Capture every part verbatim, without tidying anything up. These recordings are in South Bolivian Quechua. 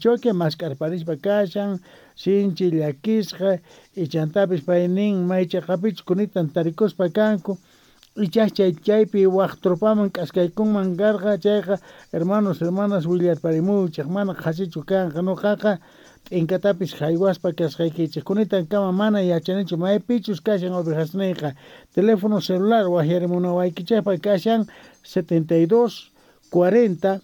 Choque mask'arparispa kashan sinchi llakisqa ichantapis pay nin maychaqapichus kunitan tarikuspa kanku ichas chay chaypi waj tropaman k'askaykunman karqa chayqa hermanos hermanas willarparimuchej mana qhasichu kanqa nuqaqa t'inkatapis jaywaspa kasqaykichej kunitan kama mana yachanichu maypichus kashan ovejasniyqa teléfono celular wajyarimunawaykichejpa kashan setenta y dos cuarenta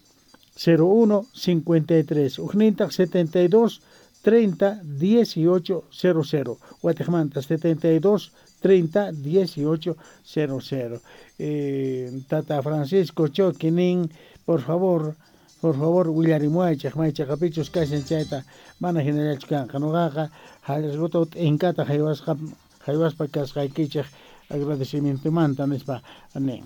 cero uno cincuenta y tres ujnintaq setenta y dos treinta dieciocho cero cero watejmanta setenta y dos treinta dieciocho cero cero. Eh, Tata Francisco Choque nin, por favor, por favor willarimuaychej maychaqapichus kashan chayta mana hinallachu kanqa nuqaqa hallq'uta t'inkata jaywasqa jaywaspa kasqaykichej agradecimientomanta nispa nin.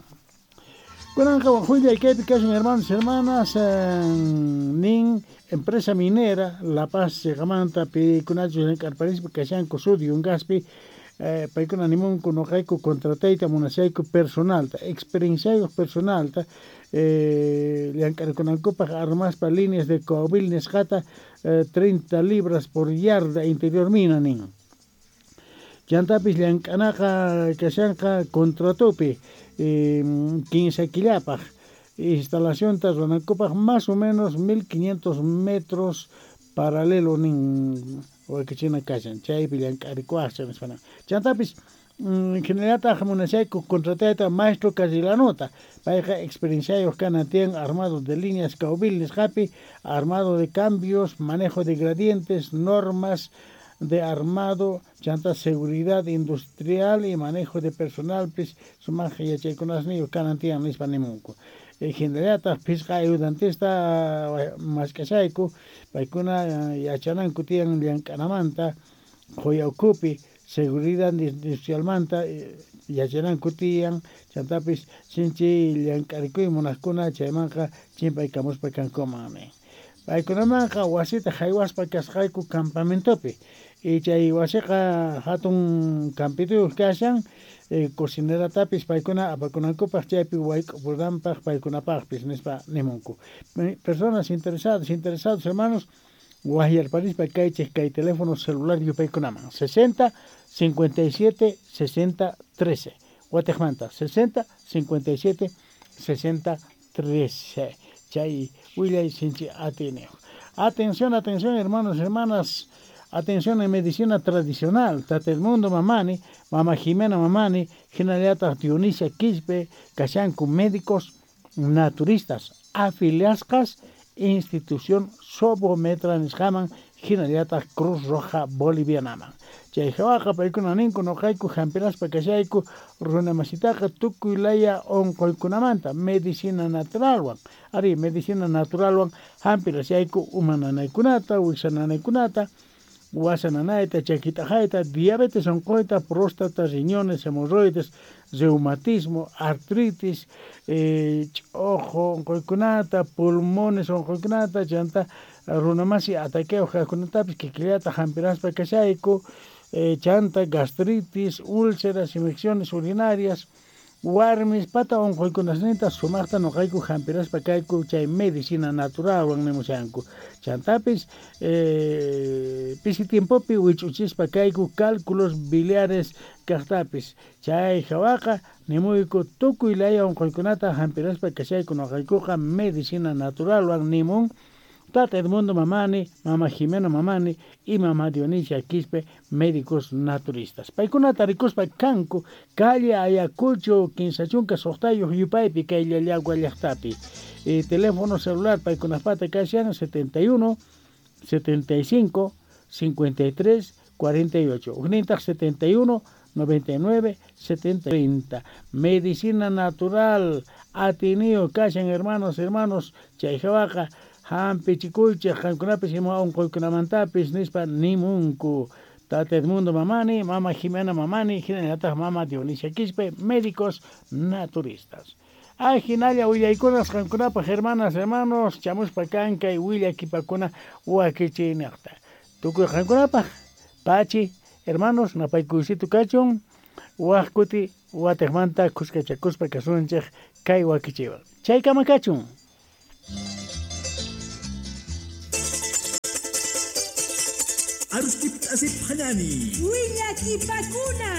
Kunanqa willay kaypi kashan hermanos hermanas eh, nin empresa minera La Paz chiqamanta pikunachus llank'arparispa kashanku Sud Yungaspi eh, paykuna nimunku nuqayku contratayta munashayku personalta experienciayuq personalta eh, llank'arkunankupaq armaspa líneas de Coahuil nisqata eh, treinta libras por yarda interior mina nin. Chantapis llank'anaqa kashanqa contratopi eh, quince killapaq instalacionta ruwanankupaq más o menos mil quinientos metros paralelo nin wakichina kashan chaypi llank'arikuwaqcha nispa. Chantapis hinallataq munashayku contratayta maestro Carrilanota payqa experienciayuq kanan tiyan armado de líneas Caubil nisqapi armado de cambios manejo de gradientes normas de armado chanta seguridad industrial y manejo de personal pis sumaq yachaykunasniyuq kanan tiyan nispa nimunku. Hinallataq phisqa ayudantista mask'ashayku paykuna yachananku tiyan llank'anamanta qhuya ukhupi seguridad industrialmanta yachananku tiyan chantapis sinchi llank'arikuy munaqkuna chaymanqa chimpaykamuspa kankuman nin. Paykunamanqa wasita jaywaspa kasqayku campamentopi y chay wasiqa hatun campituyuq kashan eh, cocineratapis paykuna apakunankupaq chaypi wayk'upunanpaq paykunapaqpis nispa nimunku. Personas interesadas, interesados hermanos wajyarparispa kaychej kay teléfono celular yupaykunaman sesenta cincuenta y siete sesenta trece watejmanta sesenta cincuenta y siete sesenta trece chay willay sinchi atiniyuq. Atención, atención hermanos, hermanas, atención en medicina tradicional, Tata Edmundo Mamani, Mama Jimena Mamani, hinallataq Dionisia Quispe, kashanku médicos naturistas, afiliasqas institución Sobometra nisqaman, hinallataq Cruz Roja Bolivianaman. Chay hawaqa paykuna ninku nuqayku hampiraspa kashayku runamasitaqa tukuy laya unquykunamanta medicina naturalwan ari medicina naturalwan hampirashayku uma nanaykunata wiksa nanaykunata wasa nanayta chakit'aqayta diabetes unquyta próstata riñones hemorroides reumatismo artritis eh, ch'uqu unquykunata pulmones unquykunata chanta runamasi ataqueo kaqkunatapis kikillata hampiraspa kashayku eh, chanta gastritis úlceras infecciones urinarias warmis pata unquykunasninta sumaqta nuqayku hampiraspa kayku chay medicina naturalwan nimushanku chantapis eh, pisi tiempopi wich'uchispa kayku cálculos biliares kaqtapis chay hawaqa nimuyku tukuy laya unquykunata hampiraspa kashayku nuqaykuqa medicina naturalwan nimun Tata Edmundo Mamani, Mama Jimena Mamani y Mama Dionisia Quispe, médicos naturistas. Paykuna tarikuspa kanku, calle Ayacucho, Quince chunka suqtayuq yupaypi, kay Llallagua llaqtapi. Eh, teléfono celular paykunapata kashan setenta y uno, setenta y cinco, cincuenta y tres, cuarenta y ocho. Ujnintaq setenta y uno, noventa y nueve, setenta y treinta. Medicina natural, atinio kashan hermanos, hermanos, chay hawaqa hampichikuychej qankunapis ima unquykunamantapis nispa nimunku. Tata Edmundo Mamani, Mama Jimena Mamani, hinallataq Mama Dionisia Quispe, médicos naturistas. Ajinalla willaykunas qankunapaq hermanas, hermanos, chamuspa kankay willakipakuna wakichiynaqta. Tukuy qankunapaq, pachi, hermanos, napaykuysitu kachun, waj kuti watejmanta kuskachakuspa kasunchej kay wakichiwan. Chaykama kachun. Arustip t'asip hanani. Willakipakuna.